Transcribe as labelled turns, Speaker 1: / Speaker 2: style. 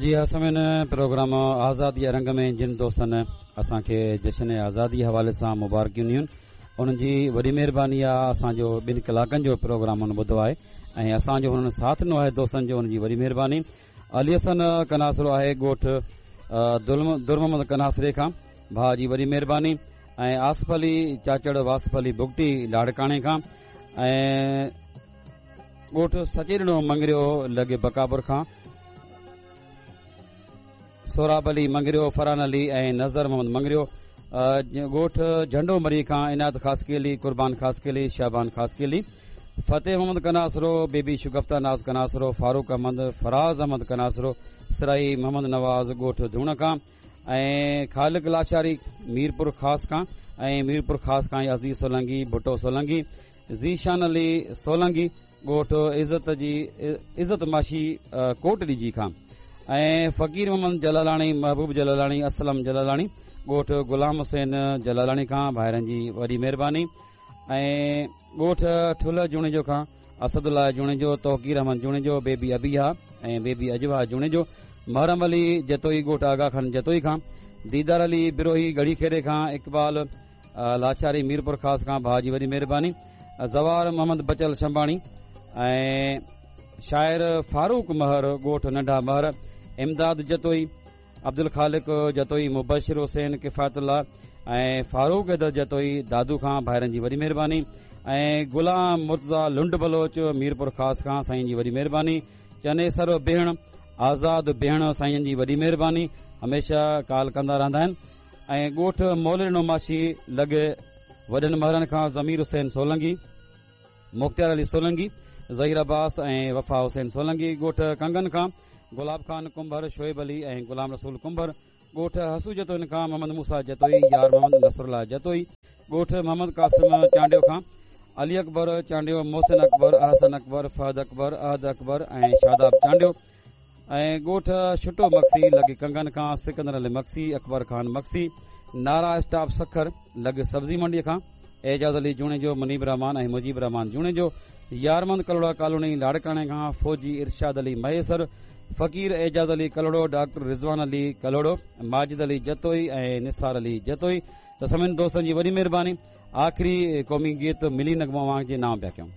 Speaker 1: جي ها سامعين پروگرام آزادي جا رنگ ۾ جن دوستن اسان کي جشن آزادي حوالي سان مبارڪيون ڏنيون انهن جي وڏي مهرباني آ اسان جو ٻن ڪلاڪن جو پروگرام انهن ٻڌو آهي ۽ اسان جو انهن ساٿ ڏنو آهي دوستن جو انهن جي وڏي مهرباني علي حسن ڪناسرو آهي ڳوٺ در محمد ڪناسري کان ڀاء جي وڏي مهرباني ۽ آصف علي چاچڙ واصف علي بگٽي لاڙڪاڻي کان ۽ ڳوٺ سچيڏنو مڱريو لڳ بڪاپور کان سهراب علي مڱريو، فرحان علي ۽ نظر محمد مڱريو، ڳوٺ جهنڊو مري کان عنايت خاصخيلي، قربان خاصخيلي، شعبان خاصخيلي، فتح محمد ڪناسرو، بيبي شگفته ناز ڪناسرو، فاروق احمد، فراز احمد ڪناسرو، سرائي محمد نواز ڳوٺ ڌوڻ کان ۽ خالق لاشاري ميرپور خاص کان ۽ ميرپور خاص کان عزيز سولنگي، ڀٽو سولنگي، ذيشان علي سولنگي، ڳوٺ عزت جي عزت ماشي ڪوٽ ڏيجي کان ۽ فقير محمد جلالاڻي، محبوب جلالاڻي، اسلم جلالاڻي، ڳوٺ غلام حسين جلالاڻي کان ڀائرن جي وڏي مهرباني ۽ ڳوٺ ٺلهه جوڻيجو کان اسد الله جوڻيجو، توقير احمد جوڻيجو، بيبي ابيها ۽ بيبي اجوا جوڻيجو، محرم علي جتوئي ڳوٺ آغا خان جتوئي کان، ديدار علي بروهي ڳڙهي خيري کان، اقبال لاشاري ميرپورخاص کان ڀاء جي وڏي مهرباني زوار محمد بچل شنباڻي ۽ شاعر فاروق مهر ڳوٺ ننڍا مهر امداد جتوئي عبدالخالق جتوئي مبشر حسين ڪفايت الله ۽ فاروق حيدر جتوئي دادو کان ڀائرن جي وڏي مهرباني ۽ غلام مرتضيٰ لنڊ بلوچ ميرپور خاص کان سائين جي وڏي مهرباني چنيسر بيهڻ آزاد بيهڻ سائين جي وڏي مهرباني هميشه ڪال ڪندا رهندا آهن ۽ ڳوٺ مولڏنو ماڇي لڳ وڏن مهرن کان ضمير حسين سولنگي، مختيار علي سولنگي، ظهير عباس ۽ وفا حسين سولنگي، ڳوٺ ڪنگن کان گلاب خان ڪنڀر، شعيب علي ۽ غلام رسول ڪنڀر، ڳوٺ حسو جتوئين کان محمد موسيٰ جتوئي، يار محمد نصرالله جتوئي، ڳوٺ محمد قاسم چانڊيو کان علي اڪبر چانڊيو، محسن اڪبر، احسن اڪبر، فهد اڪبر، احد اڪبر ۽ شاداب چانڊيو، ۽ ڳوٺ ڇٽو مگسي لڳ ڪنگن کان سڪندر علي مگسي، اڪبر خان مگسي، نارا اسٽاپ سکر لڳ سبزي منڊي کان اعجاز علي جوڻيجو، منيب الرحمان ۽ مجيب الرحمان جوڻيجو، يارمند ڪلهوڙا ڪالوني لاڙڪاڻي کان فوجي ارشاد علي مهيسر، فقير اعجاز علي ڪلهوڙو، ڊاڪٽر رضوان علي ڪلهوڙو، ماجد علي جتوئي ۽ نثار علي جتوئي ته سڀني دوستن جي وڏي مهرباني آخري قومي گيت ملي نغمو اوهان جي نانء پيا ڪيون.